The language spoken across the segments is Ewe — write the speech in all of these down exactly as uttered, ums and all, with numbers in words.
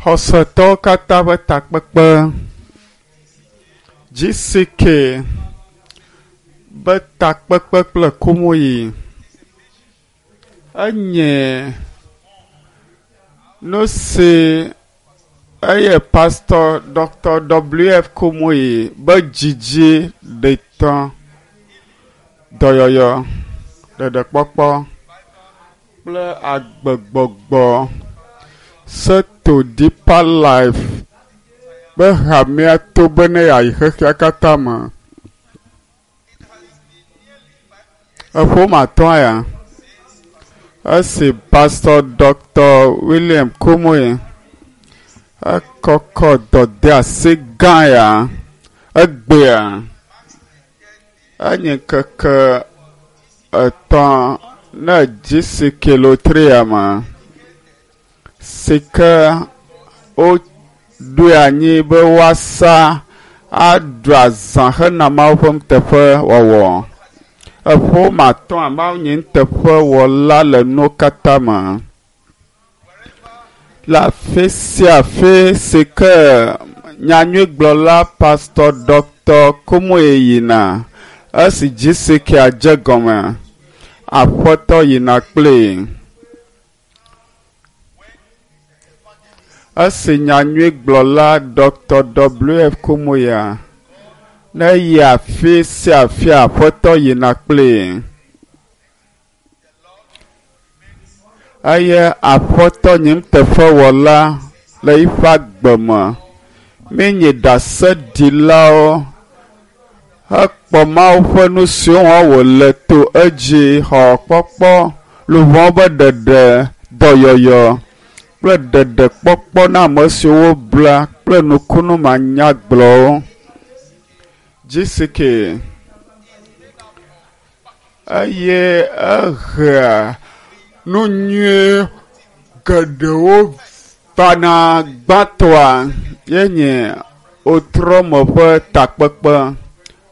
Xɔsetɔwo katã ƒe takpekpe GCK be takpekpe kple kumuyi enye nu si eye pastor Dr. WF Kumuyi be dzidzi ɖetɔ dɔyɔyɔ ɖeɖekpɔkpɔ kple agbegbɔgbɔ seto Deeper Life be hamea to be ne yeayi xexea katã me. Eƒome atɔ̃ ya esi pastor Dr. William Kumuyi ekɔkɔ dɔdeasi gã ya egbea enye ŋkeke etɔ̃ ne GCK lotria me si ke woɖoe anyi be woasa aɖu azã hena Mawu ƒe nuteƒewɔwɔ. Eƒome atɔ̃a Mawu nye nuteƒewɔla le nuwo katã me. Le afi sia afi si ke nyanyuigblɔla pastor Dr. Kumuyi yina esi GCK dze gɔme aƒetɔ yina kplii. Esi nyanyuigblɔla Dr. WF Kumuyi ne yi afi sia afi aƒetɔ yina kplii. Eye aƒetɔ nye nuteƒewɔla le eƒe agbe me. Míenye ɖaseɖilawo hekpɔ Mawu ƒe nu siwo wɔm wòle to edzi xɔ kpɔkpɔ luʋɔ be ɖeɖe dɔyɔyɔ kple ɖeɖekpɔkpɔ na ame siwo wobla kple nukunu manyagblɔwo. GCK eye ehea nu nyui geɖewo vana gbãtɔa ye nye wotrɔ me ƒe takpekpe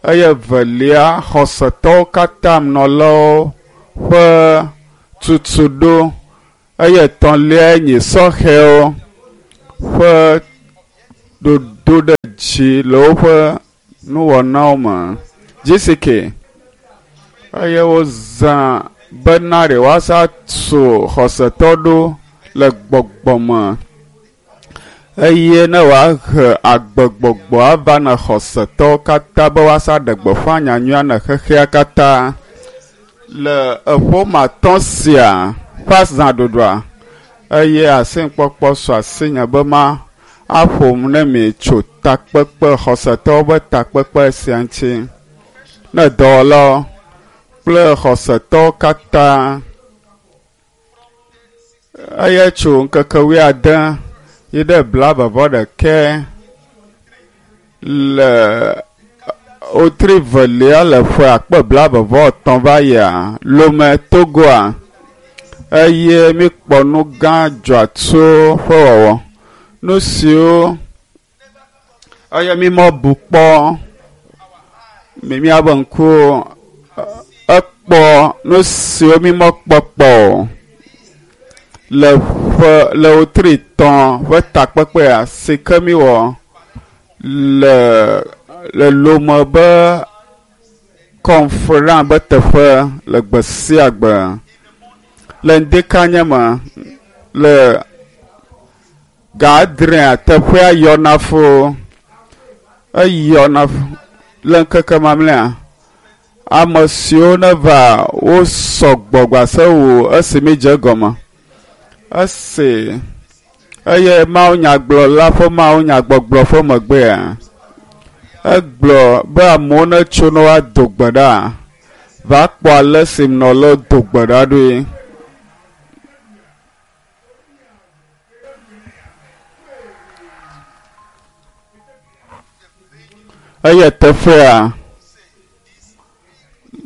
eye evelia xɔsetɔwo katã nɔlawo ƒe tutuɖo eye etɔ̃lia nye sɔhɛwo ƒe ɖoɖo ɖe dzi le woƒe nuwɔnawo me. GCK eye wozã bena ɖe woasa tu xɔsetɔ ɖo le gbɔgbɔ me eye ne wòahe agbegbɔgbɔ ava na xɔsetɔwo katã be woasa ɖe gbeƒã nyanyuia na xexea katã. Le eƒome atɔ̃ sia ƒe azãɖuɖua eye asikpɔkpɔ su asinye be ma aƒom ne mi tso takpekpe xɔsetɔwo be takpekpe sia ŋuti. Ne dɔwɔlawo kple xɔsetɔwo katã eye tso ŋkeke wuiade yi ɖe blaeve vɔ ɖekɛ le wotri velia le ƒe akpe blaeve vɔ etɔ̃ va yia Lome Togoa eye míkpɔ nu gã dzɔatso ƒe wɔwɔ. Nu siwo eye mímɔ bu kpɔ mi míaƒe ŋkuwo ekpɔ nu siwo mímɔ kpɔ kpɔ o le ƒe le wotri tɔ̃ ƒe takpekpea si ke míwɔ le le Lome be kɔnferan be teƒe le gbe sia gbe le ŋdekanye me le ga adrea teƒea yɔna fo eyɔna fo le ŋkeke mamlɛa ame siwo neva wo sɔgbɔ gbase wu esi mídze egɔme esi eye mawunyagblɔla ƒe mawunyagbɔgblɔ ƒe megbea egblɔ be amewo netso ne woado gbe ɖa va kpɔ ale si nɔlawo do gbe ɖa ɖoe. Eye teƒea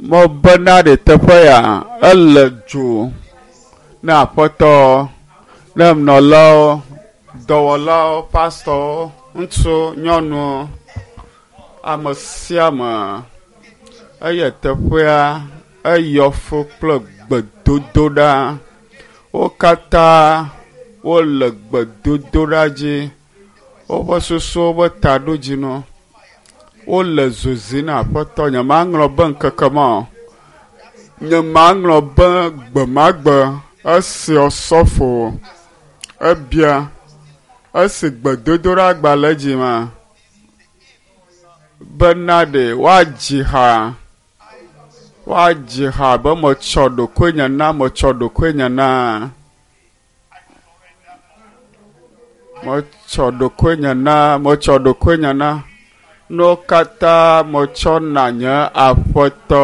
mebena ɖe teƒe ya ele dzo na aƒetɔ ne nɔlawo, dɔwɔlawo, pastɔwo, ŋutsu, nyɔnu, ame sia ame eye teƒea eyɔ fũ kple gbedodoɖa. Wo katã Wole gbedodoɖa dzi. Woƒe susuwo ƒe taɖodzinu. Wole zozi na Aƒetɔ. Nyemaŋlɔ be ŋkeke ma o. Nyemaŋlɔ be gbe ma gbe esi osɔfo ebia esi gbedodoɖa gba le edzi ma bena ɖe woadzi ha woadzi ha be metsɔ ɖokuinye na metsɔ ɖokuinye na metsɔ ɖokuinye na metsɔ ɖokuinye na nuwo katã metsɔ na nye Aƒetɔ.